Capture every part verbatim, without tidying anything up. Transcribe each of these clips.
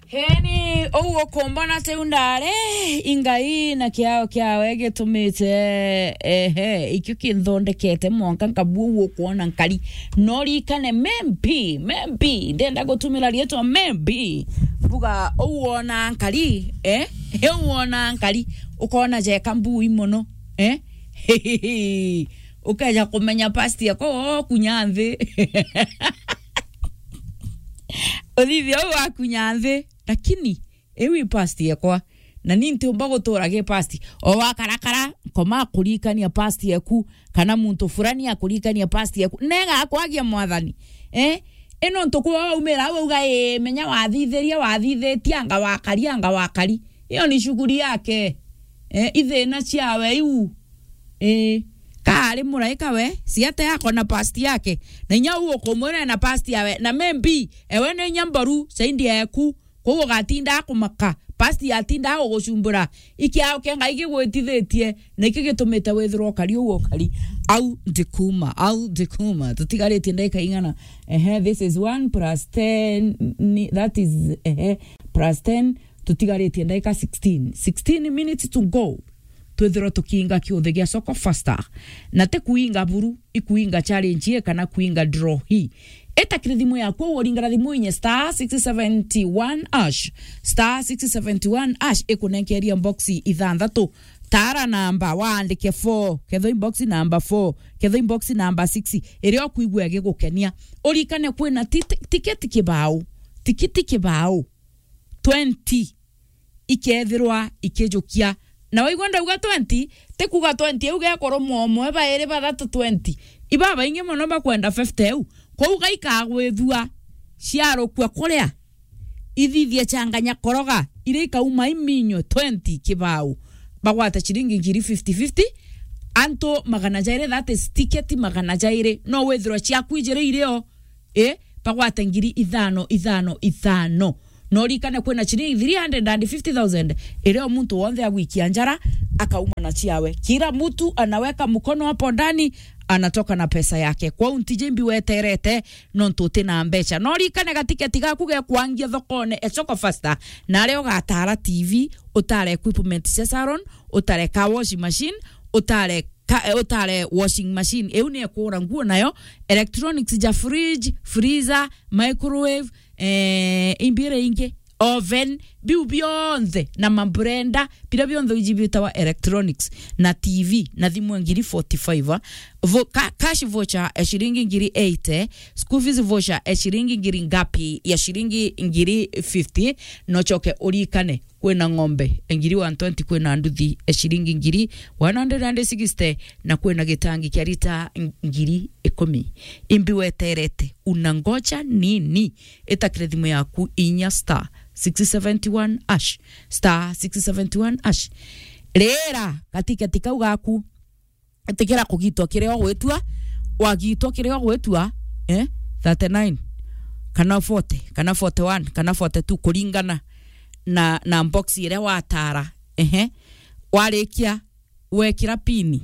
Heni, uu ukumbona tiu ndari, ingai na kiao kiawe gitumite, ehe, ikio kinthondekete mwanka nkabua uu ukwona nkari. No rikane, maybe, maybe, ndenda gutumira rietwa maybe. Mbuga, uu wona nkari, eh? Heu wona nkari, ukona jeka mbui mono, eh? Ukeja kumenya past yako, ukunya nthi. Uthithia uu wakunya nthi, lakini iu i past yekwa. Na ni ntiumba gutura gi past. O wakarakara, nkoma kuririkania past yeku, kana muntu fulani akuririkania past yeku. Nega akwagia Mwathani. Eh? Ino ntuku waumira au auga, "Ii, menya wathithirie, wathithitie, anga wakari, anga wakari." Iyo ni shughuli yake. Eh, ithina ciawe iu. Eh, kaari muraika we, siate yako na past yake. Na inya uu ukumwira ena past yawe. Na maybe, ewe ni inya mboru, saindi yeku. Kwou ugatinda akumaka, past yatinda agugucumbura. Ikiao kia Ngai gigwitithitie, na iki gitumite withirwa ukari uu ukari. Au ndikuma, au ndikuma. Tutigaritie ndagika ing'ana? Ehe, this is one plus ten, ni, that is, ehe, plus ten. Tutigaritie ndagika sixteen. Sixteen minutes to go. Twithirwa tukiinga kiuthe gia Soko Faster. Na ti kuinga buru, ikuinga challenge ii kana kuinga draw hii. Ita kiri thimu yaku, uringana thimu inye star six seventy one hash. Star six seventy one hash ikunenkeria box ithanthatu. Tara namba, waandike four, kethwa i box number four, kethwa i box number six, iria ukwigua igigukenia. Urikane kwina ti-, ti-, tiketi kibao, tikiti kibao, twenty ikethirwa ikijukia. Na waigua ndauga twenty, ti kuuga twenty iu gekoromwa umwe, bairi, bathatu, twenty. Ibabaingi mono bakwenda fifty iu. Kwou gaikagwithua ciarukua kuria, ithithie changanya koroga, iria ikauma iminyo twenty kibao. Bagwata ciringi ngiri fifty fifty, antu magana jairi, that is tiketi magana jairi. No withirwa ciaku ijiri irio, eh, bagwate ngiri ithano, ithano, ithano. No urikane kwina ciringi three hundred and fifty thousand iria o muntu wonthe agwikia njara akauma na ciawe. Kila mtu anaweka mkono hapo ndani, anatoka na pesa yake. Kwou ntiji mbi weterete, nontu uti na mbeca. No urikane gatiketi gaku gekwangia thokone e Soko Faster, na aria ugatara T V, utare equipment cia salon, utare car wash machine, utare ka-, eh, utare washing machine, iu ni ekura nguo nayo, electronics ja fridge, freezer, microwave, eh, imbi iria ingi, oven, biu bionthe, na mabrenda, biria bionthe iji bitawa electronics, na T V, na thimu ngiri forty-five, ah. Vo-, ka-, cash voucher ya ciringi ngiri eighty, school fees voucher ya ciringi ngiri ngapi? Ya ciringi ngiri fifty, no choke urikane. Kwina ng'ombe ngiri one twenty, kwina nduthi e ciringi ngiri one hundred and sixty, na kwina gitangi kia lita ngiri ikumi. Imbi weterete, unangoja nini? Ita kiri thimu yaku inya star six seventy one hash, star six seventy one hash. Rira gatiketi kau gaku, tikira kugitwa kiria ugwitua, wagitwa kiria ugwitua, eh, thirty nine, kana forty, kana forty one, kana forty two, kuringana na, na box iria watara. Ehe. Warikia, wekira pini,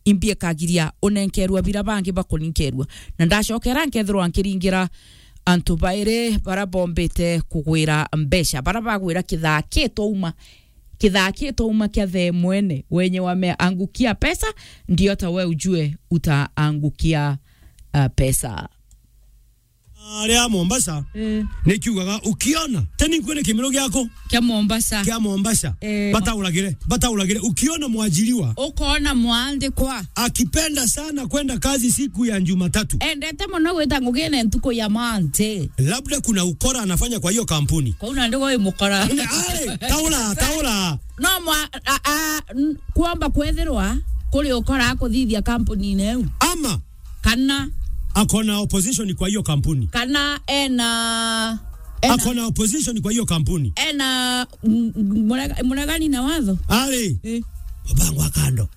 imbi ikagiria unenkerua bira bangi bakuninkerua. Na ndacokera nkethirwa nkiringira antu bairi bara bombite kugwira mbeca, bara bagwira kithaa kitwauma. Kithaa kitwauma kia thaa imwe, wenye wameangukia pesa, ndio hata we ujue utaangukia, uh, pesa. Aria Mombasa, eh, nikiugaga, ukiona, teni nkwene kimero giako kia Mombasa. Kia Mombasa. Eh. Batauragire, batauragire. Ukiona mwajiriwa, ukona mwandikwa akipenda sana kwenda kazi siku ya Jumatatu, endete mono gwita ngugine ntuku ya Monday. Labda kuna ukora anafanya kwa hiyo kampuni. Kwou nandi gwi mukora. Are, taura, taura. No mwa-, a, a, n-, kwomba kwethirwa kuri ukora akuthithia kampunine iu. Ama kana akona opposition kwa hiyo kampuni. Kana ena, ena akona opposition kwa hiyo kampuni. Ena, m-, m-, murega-, muregani na watho. Ari. Eh. Baba ngwa kando.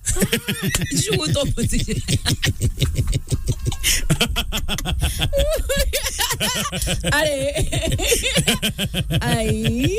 Shugu to position. Are. Ai.